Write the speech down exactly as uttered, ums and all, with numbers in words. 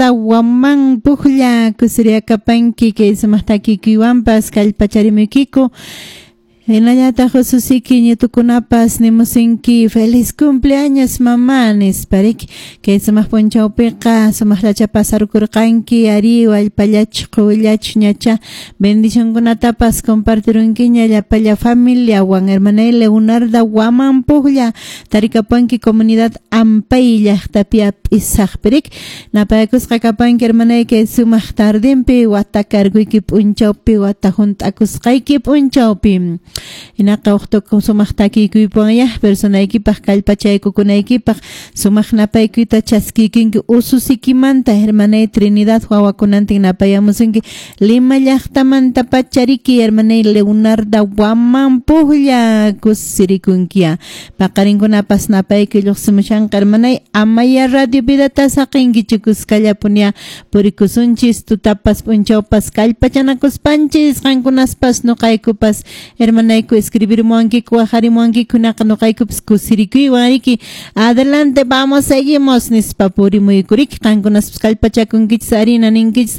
Waman Pujlla kusiriakapanki kay sumaq takikuywanpas kallpacharimuykiku. Hinallataq ususiki ñitukunapas nimusinki feliz cumpleaños mamá nispa riki. Kay sumaq p'unchawpiqa sumaqllacha pasarkurqanki ari wallpallachu quwillachu ñacha bendicionkunatapas compartirunkiña llapalla familiawan. Hermanay Leonarda Waman Pujlla tarikapanki comunidad Ampay llaqtapi ap'isaqpi riki. Napaykusqa kapanki hermanay kay sumaq tardinpi wata karguyki p'unchawpi wata hunt'akusqayki p'unchawpi. Hinaqa uqtuku sumaq takiykuypuwanyá personaykipaq kallpachaykukunaykipaq sumaq napaykuyta chaskiykinki ususikimanta hermanay Trinidad wawakunantin napayamusunki Lima llaqtamanta pachariki hermanay Leonarda Waman Pujlla kusirikunkiya paqarinkunapas napaykuy lluqsimushanqa hermanay amaya radio vidata saqinkichu kuskallapunya purikusunchis tutapas p'unchawpas kallpachanakuspanchis qankunaspas nuqaykupas hermanayku escribirmuwankiku waqarimuwankiku hinaqa nuqaykupas kusirikuywan riki adelante, vamos, seguimos nispa purimuykuriki qankunaspas kallpachakunkichis harina ninkichis.